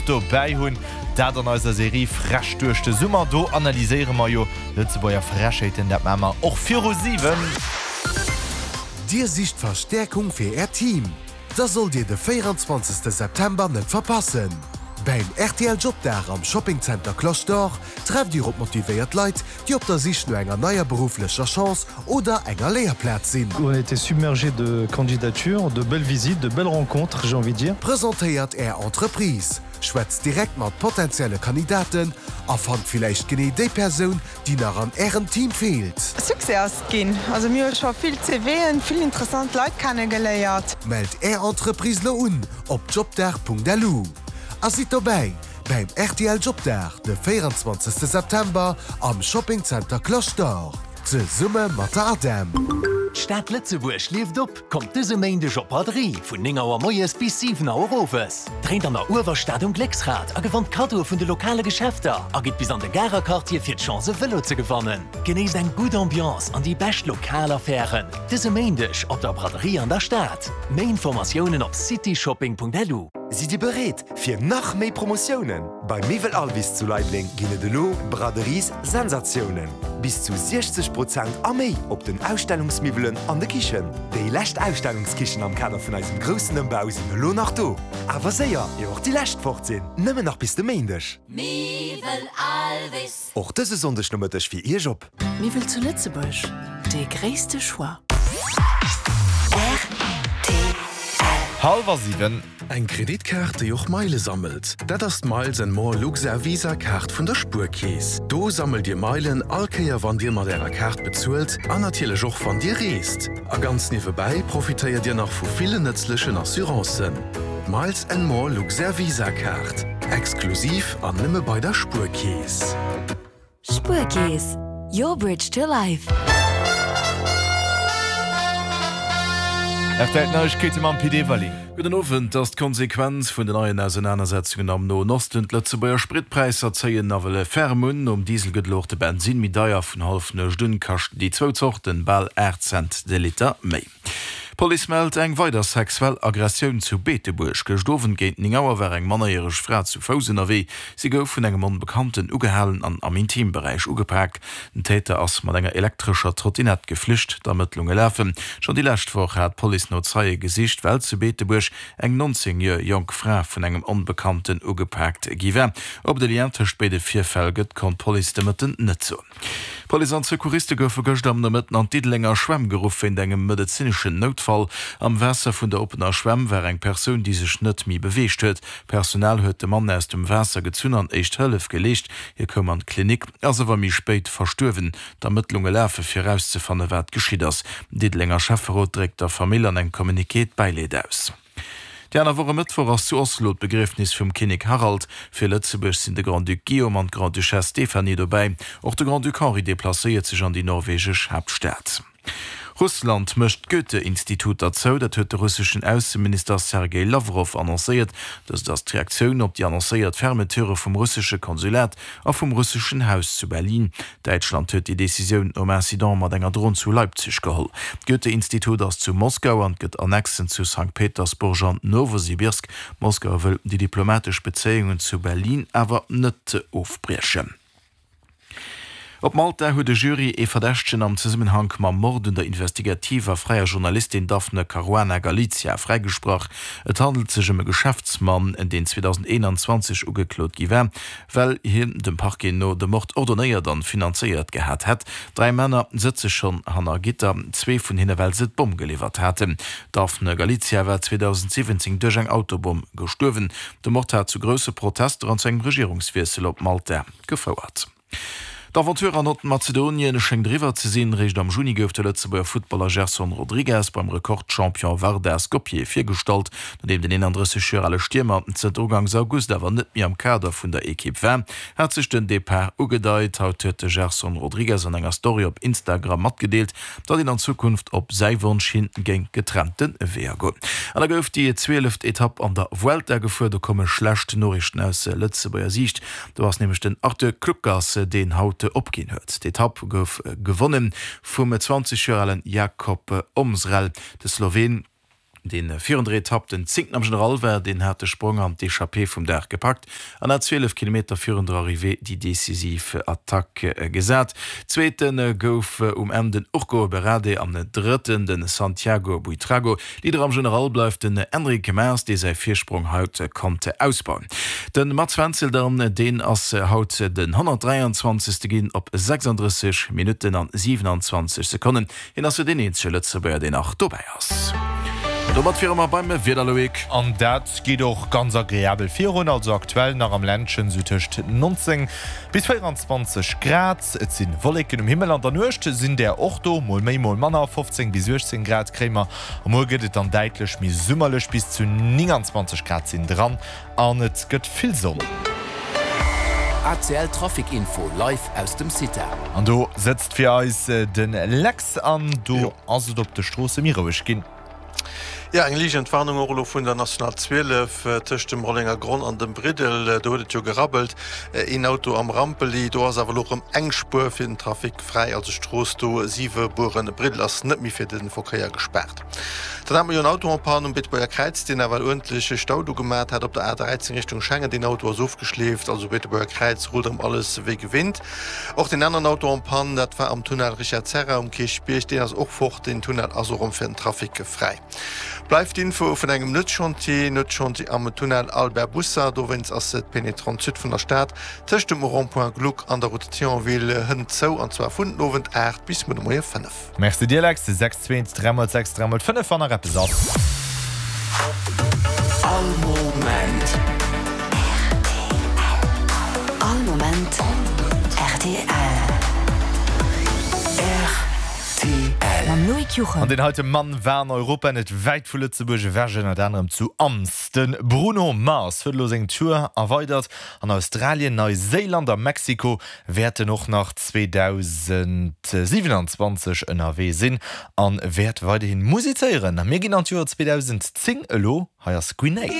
dobäi hunn. Dat an eiser Serie Frech duerch de Summer. Do analyséiere mer jo Lëtzebuerger Frechheeten. Dat maache mer och viru 7. Dir sicht Verstäerkung fir Äert Team? Da sollt Dir de 24 September net verpassen! Bäim rtl Jobdag am Shopping Center Cloche d'Or trefft Dir op motivéiert Leit, déi op der Sich no enger neier berufflecher Chance oder enger Léierplaz sinn. On a été submergé de candidatures, de belles visites, de belles rencontres, j'ai envie de dire. Presentéiert Är Entreprise, schwätzt direkt mat potentielle Kandidaten a fannt villäicht genee déi Persoun, déi nach an Ärem Team feelt. Succès ass et ginn. Also mir hu scho vill CVen, vill interessant Leit kennegeléiert. Mellt Är Entreprise lo un op jobdag.lu a sidd dobäi bäim rtl Jobdag de 24 September am Shopping Center Cloche d'Or zesumme mat der ADEM. D'Stad Lëtzebuerg lieft op! Kommt dëse Méindeg op d'Braderie vun 9 Auer moies bis 7 Auer owes. Dréint an der Uewerstad um Glécksrad a gewannt Kaddoe vun de lokale Geschäfter a gitt bis an de Garer Quartier fir d'Chance e Vëlo ze gewannen. Genéisst eng gutt Ambiance an déi bescht lokal Affären dëse Méindeg op der Braderie an der Stad. Méi Informatiounen op cityshopping.lu. Sidd Dir bereet fir nach méi Promotiounen? Bei Miwwel Alvis zu Leibleng ginn et elo Braderies Sensatiounen! Bis zu 60 Prozent a méi op den Ausstellungsmiwwelen an de Kichen. Déi lescht Ausstellungskichen am Kader vun eisem groussen Ëmbau sinn elo nach do. Awer séier, ier och déi lescht fort sinn! Nëmmen nach bis de Méindeg. Miwwel Alvis. Och dëse Sonndeg Nomëtteg fir Iech op. Miwwel zu Lëtzebuerg, dee gréisste Choix. Hallwer 7. Eng Kreditkaart, déi och Meile sammelt, dat ass d'Miles and More Luxair Visa Kaart vun der Spuerkeess. Do sammelt Dir Meilen all Kéier wann Dir mat Ärer Kaart bezuelt an natierlech och wann Dir reest. A ganz niewebäi profitéiert Dir nach vu villen nëtzlechen Assurancen. D'Miles and More Luxair Visa Kaart, exklusiv an nëmme bei der Spuerkeess. Spuerkeess, your bridge to life. Rtl Neiegkeete mam Pit Everling. Gudden Owend. Ass d'Konsequenz vun den neien Ausenanersetzungen am Noen Osten. D'Lëtzebuerger Spritpräisser zéien nawell ferm un. Nom Diesel gëtt elo och de Bensinn méi deier. Vun Hallefnuecht un kaschten déi zwou Zorten bal 8 Cent de Liter méi. D'Police mellt eng weider sexuell Aggressioun zu Beetebuerg. Gëscht Owend géint 9 Auer war eng mannerjäreg Fra zu Fouss ënnerwee. Si gouf vun engem Onbekannten ugehalen an am Intimberäich ugepak. Den Täter ass mat enger elektrescher Trottinett geflücht. D'Ermëttlunge lafen. Schonn déi lescht Woch hat d'Police no Zeie gesicht, well zu Beetebuerg eng 19 Joer jonk Fra vun engem Onbekannten ugepaakt gi war. Ob et e Lien tëscht béide Virfäll gëtt, konnt d'Police de Mëtten net soen. D'Police an d'Secouriste goufe gëschter am Nomëtten an d'Diddelenger Schwämm geruff wéint engem medezineschen Noutfall. Am Waasser vun der oppener Schwämm war eng Persoun, déi sech net méi beweegt huet. D'Personal huet de Mann aus dem Waasser gezunn an éischt Hëllef geleescht. Hie koum an d'Klinik, ass awer méi spéit verstuerwen. D'Ermëttlunge lafe fir erauszefanne wat geschitt ass. Den Diddelenger Schäfferot dréckt der Famill an engem Communiqué d'Bäileed aus. Déi aner Woch e Mëttwoch ass zu Oslo d'Begriefnis vum Kinnek Harald. Fir Lëtzebuerg sinn de Grand-Duc Guillaume an d'Grande-Duchesse Stéphanie dobäi. Och de Grand-Duc Henri deplacéiert sech an déi norwegesch Haaptstad. Russland mécht d'Goethe-Instituter zou, dat huet de russeschen Ausseminister Sergej Lawrow annoncéiert. Dëst ass d'Reaktioun op déi annoncéiert Fermeture vum russesche Konsulat a vum russeschen Haus zu Berlin. Däitschland huet déi Decisioun nom Incident mat enger Dron zu Leipzig geholl. D'Goethe-Institut ass zu Moskau an gëtt Annexen zu Sankt Petersburg an Nowosibirsk. Moskau wëll déi diplomatesch Bezéiungen zu Berlin awer net ofbriechen. Op Malta huet e Jury ee Verdächtegen am Zesummenhank mam Mord un der investigativer fräier Journalistin Daphne Caruana Galizia fräigesprach. Et handelt sech ëm e Geschäftsmann, deen 2021 ugeklot gi war. Well hien dem Parquet no de Mord ordonéiert an finanzéiert gehat hätt. Dräi Männer sëtze schonn hanner Gitter, zwee vun hinne well se d'Bomm geliwwert haten. D'Daphne Galizia war 2017 duerch eng Autobomm gestuerwen. De Mord hat zu grousse Protester an zu engem Regierungswiessel op Malta gefouert. D'Aventure an Nordmazedonien schéngt eriwwer ze sinn. Réischt am Juni gouf de Lëtzebuerger Futtballer Gerson Rodrigues beim Rekordchampion Vardar Skopje virgestallt. Nodeem den 31 Joer ale Stiermer zënter ugangs August awer net méi am Kader vun der Ekipp war, hat sech den Depart ugedeit. Haut huet de Gerson Rodrigues an enger Story op Instagram matgedeelt, datt een an Zukunft op säi Wonsch hin géing getrennte Weeër goen. An da gouf déi zwieleft Etapp an der Vuelta gefuer. Do komme schlecht Noriichten aus Lëtzebuerger Siicht. Do ass nämlech den Arthur Kluckers, deen haut opginn huet. D'Etapp gouf gewonne vum 20 Joer alen Jakob Omsrel. De Sloween. dee virun der Etapp den Zéngten am General war, deen hat de Sprong an d'Echappée vum Dag gepackt an hat 12 Kilometer virun der Arrivée déi decisiv Attack gesat. Zweete gouf um Enn den Urko Berrade an Drëtten de Santiago Buitrago. Leader am General bleift den Enric Mas, dee säi Virsprong haut konnt ausbauen. De Mats Wenzel dann, deen ass haut den 123. Ginn op 36 Minutten an 27 Sekonnen. Hien ass jo deen eenzege Lëtzebuerger, deen nach dobäi ass. An domat wiere mer beim Wieder, Loïc. An dat geet och ganz agreabel virun, also aktuell nach am Ländchen sou tëscht 19 bis 24 Grad. Et si Wolleken um Himmel, an der Nuecht sinn där och do, mol méi, mol manner, 15 bis 18 Grad kréie mer. A muer gëtt et dann däitlech méi summerlech, bis zu 29 Grad sinn dran an et gëtt vill Sonn. ACL Trafic Info live aus dem CITA. An do sëtzt fir eis de Lex an do ass et op de Stroosse méi roueg ginn. Jo, eng liicht Entwarnung och elo vun der National 12 tëscht dem Rollenger Gronn an dem Briddel. Do huet et jo gerabbelt, een Auto am Rampeli. Do ass awer elo rëm eng Spuer fir den Trafic fräi, also d'Strooss do Siwebueren-Briddel ass net méi fir de Verkéier gespaart. Dann hat mer jo en Auto en panne um Beetebuerger Kräiz, deen nawell uerdentlech Stau do gemat hat op der A13 Richtung Schengen. Deen Auto ass ofgeschleeft, also Beetebuerger Kräiz rullt erëm alles wéi gewinnt. Och deen aneren Auto en panne, dat war am Tunnel Richard Serra um Kierchbierg, deen ass och fort. Den Tunnel ass och erëm fir den Trafic fräi. Bleift d'Info vun engem Nuetschantier, Nuetschantier am Tunnel Albert Busser. Dowéinst ass d'Pénétrante Sud vun der Stad tëscht dem Rond-point Gluck an der Route de Thionville hënt zou, an zwar vun den Owend 8 bis muer de Moie 5. Merci dir Lex, 6 2 3 mol 6 3 mol 5 wann nach eppes ass. All Moment. All Moment rtl. Rtl. Mam Loïc Juchem. An deen heite Mann war an Europa net wäit vu Lëtzebuerg ewech, ënnert anerem zu Ams. De Bruno Mars huet elo seng Tour erweidert an Australien, Neiséiland a Mexiko wäert en och nach 2027 ënnerwee sinn a wäert weiderhin musizéieren. Mir ginn an d'Joer 2010 elo, hei ass Grenade.